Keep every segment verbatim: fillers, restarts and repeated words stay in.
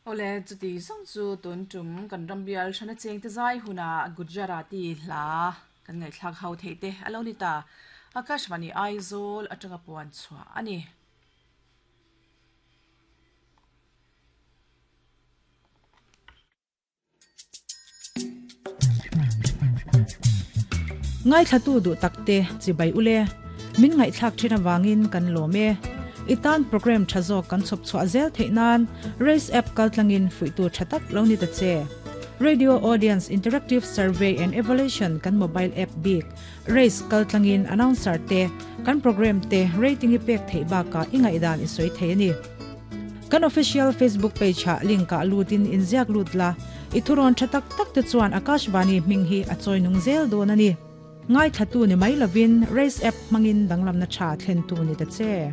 Ole chuti zawng chu tun tum kan rambial hrana cheng te zai huna Gujarati hla kan ngaihthlak ho thei te alo ni ta. Akashvani Aizawl atanga puan chhuah ani. Ngai thlatu du takte chibai ule min ngai thlak thina wangin kan lome itan program thazo kan chop chwa zel theinan race app kaltlangin fuitu thatak lo ni ta che. Radio Audience Interactive Survey and Evaluation kan mobile app big race kaltlangin announcer te kan program te rating i pek thei ba ka ingai dan i soi thei ani. Kan official Facebook page ha link ka lutin inziak lutla ithuron thatak tak te chuan Akashvani minghi achoi nung zel don ani. Ngai thatu ni mai lovin race app mangin danglam na cha thlen tu ni ta che.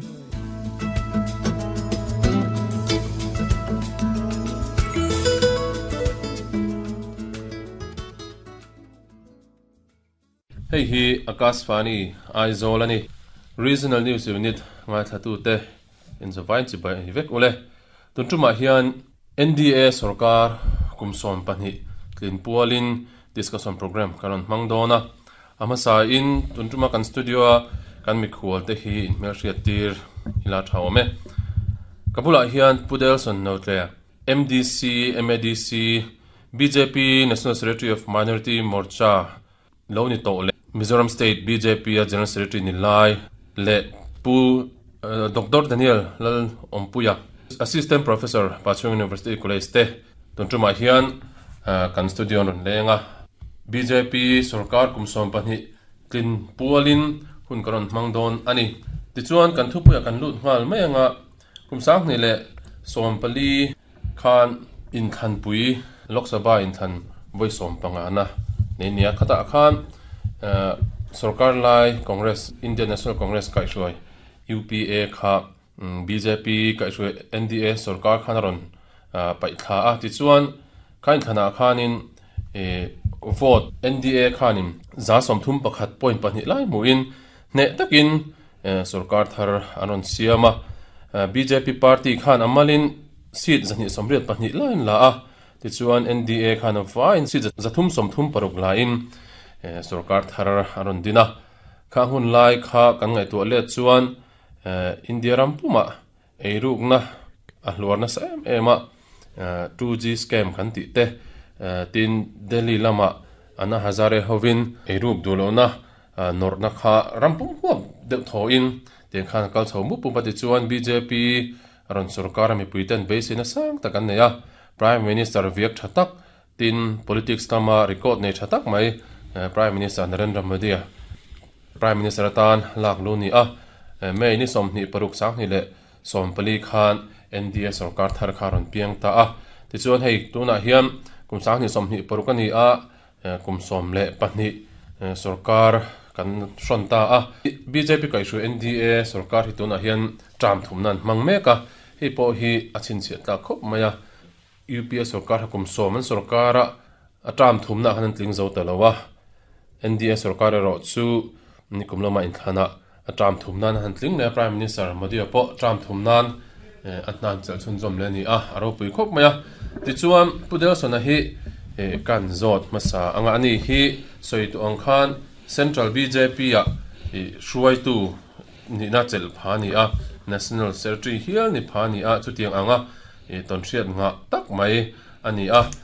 Hei hi Akashvani Aizawl ani Regional News Unit ngai thatu te in zawain chi bai vek ule tun tuma hian N D A sarkar kumsom pahnih tlin pualin discussion program karon mangdona amasa in tun tuma kan studio kan mikhual te hi in hmelhriat tir ila thawme kabula hian Pudelson notle M D C M A D C B J P National Secretary of Minority Morcha lo ni to le Mizoram State B J P General Secretary ni lai le pu uh, Doctor Daniel Lal Ompuya Assistant Professor Pachung University College te tun tuma hian uh, kan studio non lenga B J P sarkar kumsom pahnih tlin pualin hun karon mangdon ani tichuan kan thupuya kan lut ngal mai anga kumsang ni le sompali khan in khan pui Lok Sabha in than voi som panga na ne nia khata khan uh, sarkar lai Congress Indian National Congress kai shuai U P A kha um, B J P kai shuai N D A sarkar khan ron uh, pai tha a tichuan khain thana khanin e vote N D A khanin za som thum pakhat point pahnih lai muin ne takin sarkar thar anon siama B J P party khan amalin seat zani somriat pahnih lain la a tichuan N D A khan va in seat zathum som thum paruk lain sarkar thar aron dina kha hun lai kha kan ngai tu le chuan India ram puma eiruk na a hluar na sam ema two G scam kan ti te tin Delhi lama ana Hazare hovin eiruk dulona norna kha rampum huam deuh tho in ten khan kal chho mu pum pati chuan B J P ron sarkar mi puiten base na sang takan neya Prime Minister viak thatak tin politics tama record nei thatak mai Prime Minister Narendra Modi Prime Minister tan lak lu ni a mei ni somni paruk sang ni le sompali khan N D A sarkar thar kharon piang ta a ti chuan hei tuna hian kum sang ni somni paruk ani a kum som le pahnih sarkar kan hron ta a B J P kai shu N D A sarkar hi tuna hian tram thum nan mang meka hei pawh hi a chhinchhiah tlak khawp mai a U P A sarkar kum som an sarkara a tram thum na khan tling zo ta lowa N D A sarkar ro chu nikum lama in thana a tram thum nan han tling le Prime Minister Modi pawh tram thum nan a hnan chal chhun zawm le ni a a ropui khawp mai a tichuan Pudelson a hi kan zawt hmasa anga ani hi sawi tu ang khan Central B J P a hruai tu ni na chel pha ni a National Secretary hial ni pha ni a chutiang anga ton hriat nga tak mai ani a.